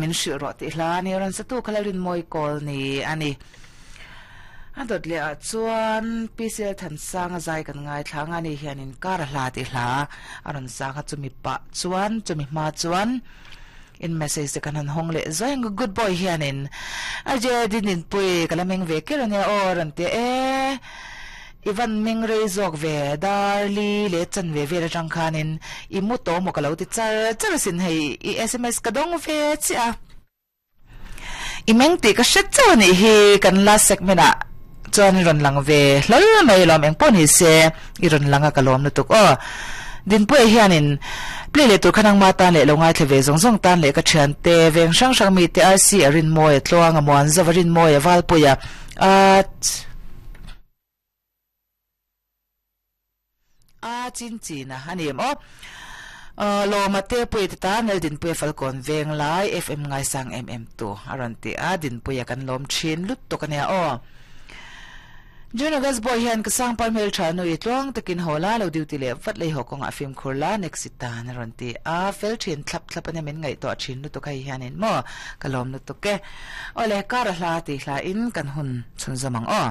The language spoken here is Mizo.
Min hrilh rawh tih hla a ni. Rawn satu kha Lalrinmawi kawl ni a ni. A dawt leh ah chuan PCL Thansanga zai kan ngaithla ang a, ani hianin kar a hla tih hla a rawn sang a, chumi pah chuan chumi hma chuan in message te kan han hawng leh zuai ang. Good boy hianin a je Dindinpui ka la meng ve ker ania aw a rawn ti a, e i van meng rei zawk ve Darli leh chan ve vel atang khanin i mu tawh maw ka lo ti char char asin hei i sms ka dawng ve chiah a. I meng tih ka hre chauh a nih hi, kan last segment ah chuan i rawn lang ve hlawl mai lawm eng pawh ni se i rawn lang a ka lawm lutuk aw. Dinpuia hianin play leh tur kha nangma tan leh lo ngaithla ve zawng zawng tan leh ka thiante veng hrang hrang mite RC a Rinmawia Tluanga Muanzova Rinmawia Valpuia a A chin chin a a ni em aw. Lawma te pui te tan Lal Dinpuia Falkawn veng lai FM ngaisang em em tu a rawn ti a, Dinpuia kan lawm thin lut tuk a nia aw. June August boy hian ka sangpar hmeltha nu i tluang takin haw la lo duty leh vat lei haw kawngah fimkhur la next i tan a rawn ti a, fel thin thlap thlap a nia min ngaihtuah thin lutuk hei hianin maw ka lawm lutuk e. Awle kar a hla tih hla in kan hun chhunzawm ang aw.